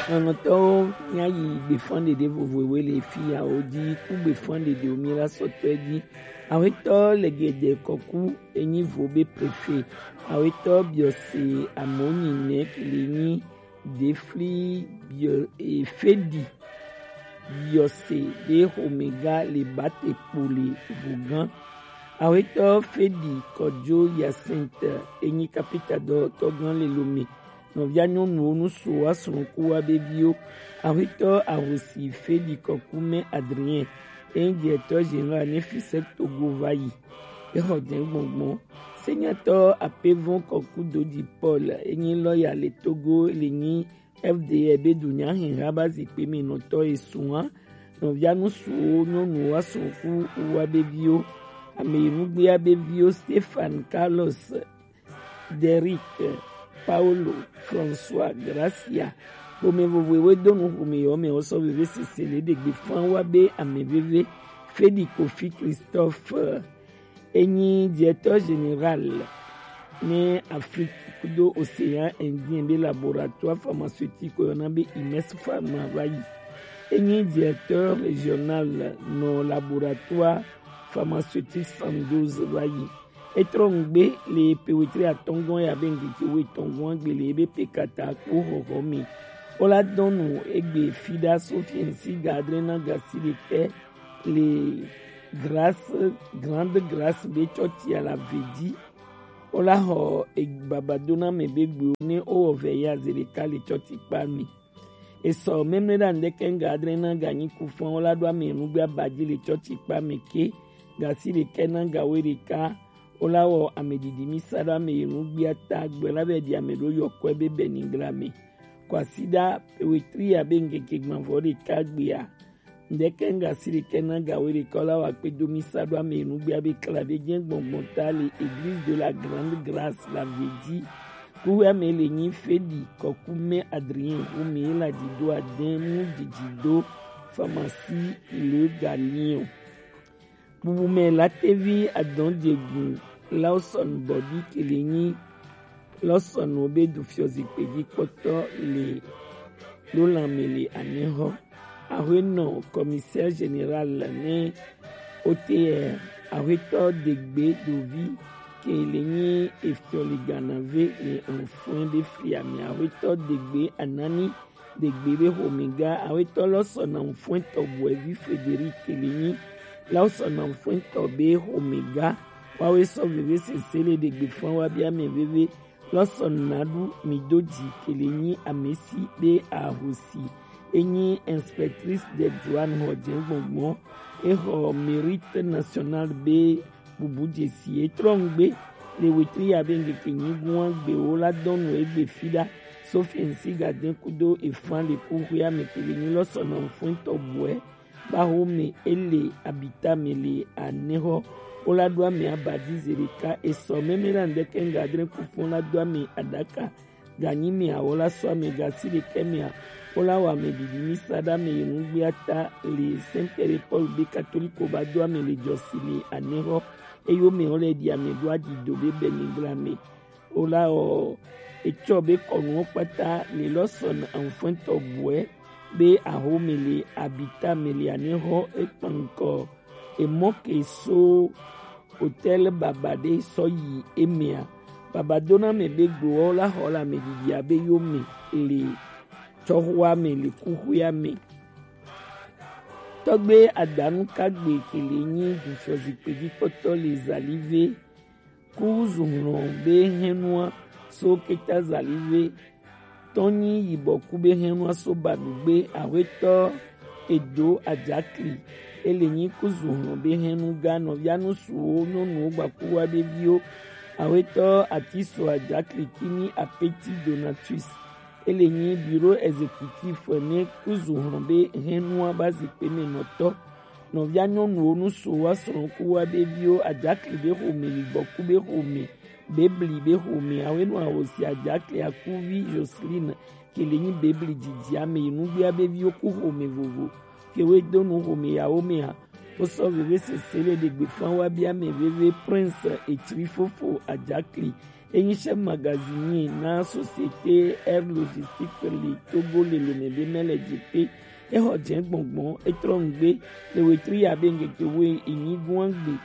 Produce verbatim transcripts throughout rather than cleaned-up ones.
Lɔlɔ̃tɔwo, míayi gbefan ɖeɖe vovovowo le fi yawo dzi ku gbefan ɖeɖewo míela sɔtɔe dzi. Awetɔ Legede Kɔku enyi vo be prefe. Awetɔ Biɔse Amonyinɛ kele nyi Defli Biɔ-, e, Fedi Biɔse ɖe xomega le bate kpo le vogan. Awetɔ Fedi Kɔdzo Yasinte enyi kapita dɔtɔgan le Lome. Nɔvia nyɔnuwo nusu wa srɔ̃ ku wa be viwo. Awetɔ Ahosi Fedi Kɔkumɛ Adrien enyi directeur général ne Fisec Togo va yi. Exɔ dɛn gbɔngbɔn. Senyatɔ Apevɔn Kɔku Doji Paul enyi lɔya le Togo le nyi F D R be dunya hɛn ha ba zikpe me nɔtɔ esun wa. Nɔvia nusuwo nyɔnuwo wa srɔ̃ ku wa be viwo. Ame yi nugbea be viwo Stefan Carlos Derrick, Paulo, François, Gracia. Xomɛ vovovowo do nu xomɛ yɔ mɛ wosɔ veve sese le ɖegbe fan wa be ame veve Fedi Kofi Christophe enyi directeur général ne Afrique kudo Océan Indien be laboratoire pharmaceutique yɔna be Imes Pharma va yi. Enyi directeur régional nɔ laboratoire pharmaceutique Sandoz va yi. Etrɔ ŋgbe le pe wetri atɔngɔn ya be ŋgeke wo etɔngɔn gbe le ebe pe kata kpo xɔxɔ mi. Wola dɔnu egbe fi ɖa so fiɛnsi ga adre na ga si ɖekɛ le Grâce, Grande Grâce be tsɔtsi ala ve dzi. Wola xɔ egbabadona me be gbewo ne wowɔ vɛ ya ze ɖeka le tsɔtsi kpa mi. Esɔ memle ɖa ŋdɛkɛ ŋga adre na ga nyi ku fɔn wola ɖo ame nugbe abadzi le tsɔtsi kpa me ke. Ga si ɖekɛ na ga we ɖeka wola wɔ ame ɖiɖi mi sa ɖo ame yi nugbea ta gbe la vɛ ɖi ame ɖo yɔkɔe be bɛ ningla me. Kwasiɖa pe wetri ya be ŋgeke gbãvɔ ɖeka gbea. Ŋdɛkɛ ŋga si ɖekɛ na ga we ɖeka wola wɔ akpe do mi sa ɖo ame yi nugbea be kla be jɛ gbɔngbɔn ta le Église de la Grande Grâce la ve dzi. Kuxuea me le nyi Fedi Kɔkumɛ Adrien, wo me la dzi do adɛn mu didi do pharmacie Le Galion. Bubu me la tevi adɔn dzegun Lawson Bɔbi kele nyi Lawson wo be du fiɔ zikpe dzi kpɔtɔ le lo lan me le anɛ xɔ. Axwenɔ commissaire général ne O T R, axwetɔ Degbe Dovi kele nyi efiɔ le Ganave le Anfɔn be fliame. Axwetɔ Degbe Anani Degbe be xomega, awetɔ lɔ sɔ na ŋfɔɛtɔ bɔɛvi Frederic le nyi la sɔ na ŋfɔɛtɔ be xomega. Wawe sɔ veve sese le ɖegbe fan wa bia mɛ veve lɔ sɔ na ɖu mi do dzi kele nyi amesi be ahosi. Enyi inspectrice de douane xɔ jɛ gbɔngbɔn, exɔ mérite national be bubu dzesi etrɔ ŋgbe le wetri ya be ŋgeke nyigun agbewo la dɔnu egbe fi ɖa. Sophie ŋsi gadɛn kudo efan le kuxuea me kele nyi lɔ sɔ na ŋfɔɛtɔ bɔɛ ba xome ele abita me le anɛxɔ. Wo la ɖo ame abadi ze ɖeka esɔ mɛmɛ la ŋdɛkɛ ŋga adre kufɔn la do ame aɖaka. Ganyi mɛ awɔ la sɔ ame gasi ɖekɛ mɛa, wo la wɔ ame ɖiɖi mi sa ɖe ame yi nugbea ta le Saint Pierre Paul be katoliko ba do ame le jɔsi le anɛxɔ. Eyo mɛ wo le ɖi ame ɖo aɖido be bɛ mi gla me. Wo la wɔ etsɔ be kɔnuwo kpata le lɔ sɔ na anfɔɛtɔ bɔɛ be axome le abita me le anɛxɔ ekpankɔ emɔ ke so hôtel baba ɖe sɔ yi emea. Baba dona mɛ be gbowɔ la xɔ le ame ɖiɖi abe yo me le tsɔxɔa me le kuxuea me. Tɔgbe adanu kagbe kele nyi dufɔ zikpe dzi kpɔtɔ le zalive. Ku zu hlɔn be hɛnua so keta zalive tɔn nyi yibɔ ku be hɛnua so ba ɖugbe ahwetɔ edo ajakli. Ele nyi ku zu hlɔn be hɛnu ga nɔvia nusuwo nyɔnuwo gbakuwa be viwo. Ahwetɔ atiso ajakli kini apeti Donatus. Ele nyi bureau exécutif ne ku zu hlɔn be hɛnua ba zikpe me nɔtɔ. Nɔvia nyɔnuwo nusuwo wa srɔ̃ ku wa be viwo ajakli be xome yibɔ ku be xome. Bebli be xomea, wenu ahosi ajakli akuvi Joseline, ke le nyi Bebli didi ame yi nugbea be viwo ku xome vovo. Ke we do nu xome yawo mea, wo sɔ veve sese le ɖegbe fan wa be ame veve Prince Etsri fofo ajakli, Enyi chef magazinier na Société Air Logistique le Togo le lome be mɛ le jepe. Exɔ jɛ gbɔngbɔn, etrɔ nugbe le wetri ya be ngeke wo enyi guangbe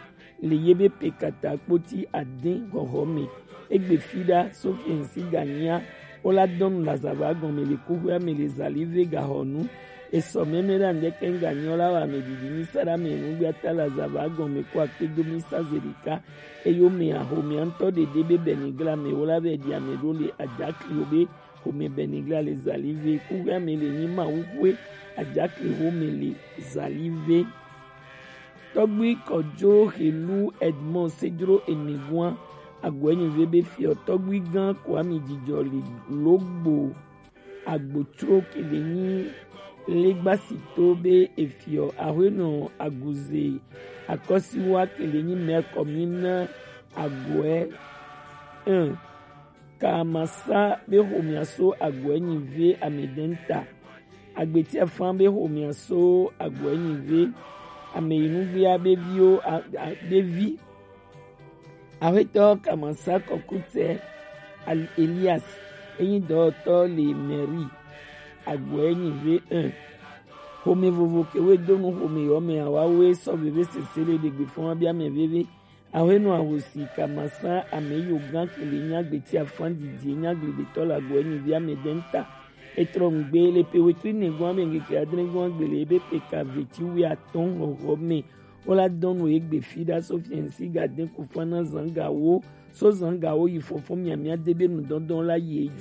le ye be pe kata kpoti adin hɔhɔ me. Egbe fi ɖa Sofiɛn si ganya wo la dɔnu le azava gɔme le kuxoea me le zali ve gahɔnu. Esɔ mɛmɛ ɖa ŋdɛkɛ ŋganyi wo la wa ame didi mi sa ɖa me nugbe ata le azava gɔme ko akpe do mi sa ze ɖeka. Eyo me axomea ŋutɔ ɖeɖe be bɛnigla me wo la vɛ ɖi ame ɖo le ajakli wo be xome bɛnigla le zali ve. Kuxoea me le nyi Mawu xwe ajakli xome le zali ve. Tɔgbui Kɔdzo Helu Edmond Sedro Enegua Agɔɛnyive be fiɔ tɔgbui gã Kwami Jijɔ le logbo agbotsro kele nyi legbasito be efiɔ ahuenɔ aguze akɔsiwa kele nyi mɛ kɔmina agɔɛ un. Kamasa be xomia so agɔɛnyive amedɛnta. Agbeti afan be xomia so agɔɛnyive ameyinugbea be viwo a- a- be vi. Axwetɔ Kamasa Kɔkutɛ Al- Elias enyi dɔwɔtɔ le mɛri agɔɛnyive un. Xome vovo kewe donu xome yɔ me awawe sɔ veve sese le ɖegbe fɔn wa bia mɛ veve. Ahuenɔ ahosi Kamasa ameyo gã kele nyi agbeti afan didi nyi agbledetɔ le agɔɛnyivi amedɛnta. Etrɔ nugbe le pe wetri nɛgɔn ame ngeke adrɛgɔn agbele ebe pe ka veti wi atɔn hɔhɔ me. Wo la dɔnu egbe fi ɖa so fiɛnsi ga den ku fana zangawo so zangawo yi fɔfɔ miamia de be nudɔdɔn la yi edzi.